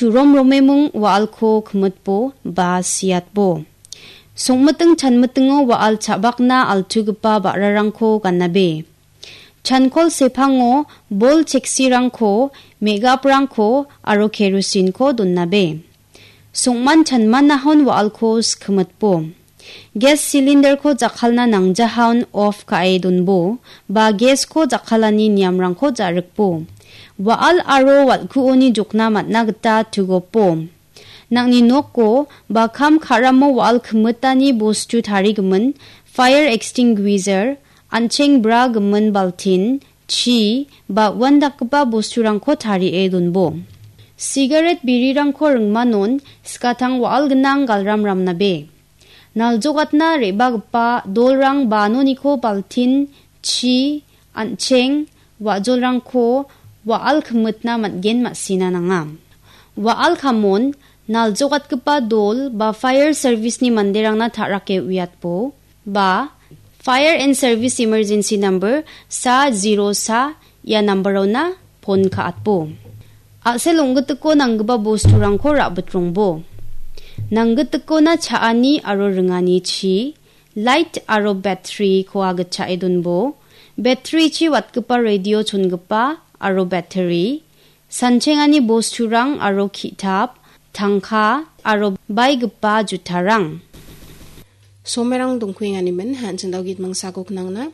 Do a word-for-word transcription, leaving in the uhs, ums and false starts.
Churom romemung wa·alko kimitbo ba siatbo. Songmiting chanmitingo wa·al cha·bakna altugipa ba·rarangko ganabe. Chankol sepango bol cheksirangko, me·gaprangko aro kerosinko donabe. Songman chanmanahon wa·alko skimitbo. Gas cylinderko jakkalna nangjahaon off ka·e donbo, ba gasko jakkalani niamrangko ja·rikbo. Wa·al aro wal·kuoni jokna man·a gita tugopo. Nangni noko ba kam ka·ramo wa·al kimitani bostu tarigimin fire extinguisher, an·cheng bra gimin baltin, chi, ba uandakgipa bosturangko tarie donbo. Sigaret birirangko ringmanon skatang wa·al gnang galram ramnabe. Naljogatna re·bagipa dolrang ba noniko baltin, chi, an·cheng, wa·jolrangko wa·al kimitna man·gen ma·sina nanga. Wa·al kamon naljogatgipa dol ba fire service-ni manderangna ta·rake uiatbo ba fire and service emergency number sa zero sa ia nambarona phone ka·atbo. A·sel ong·gitiko nanggipa bosturangko ra·bitrongbo. Nanggitikona cha·ani aro ringani chi, light aro battery-ko agitchae donbo. Battery-chi watgipa radio chongipa aro battery, sanchengani bosturang aro ki·tap, tangka aro baigipa jutarang. Somerang dongkuenganimin, hanchindao git mangsako knangna.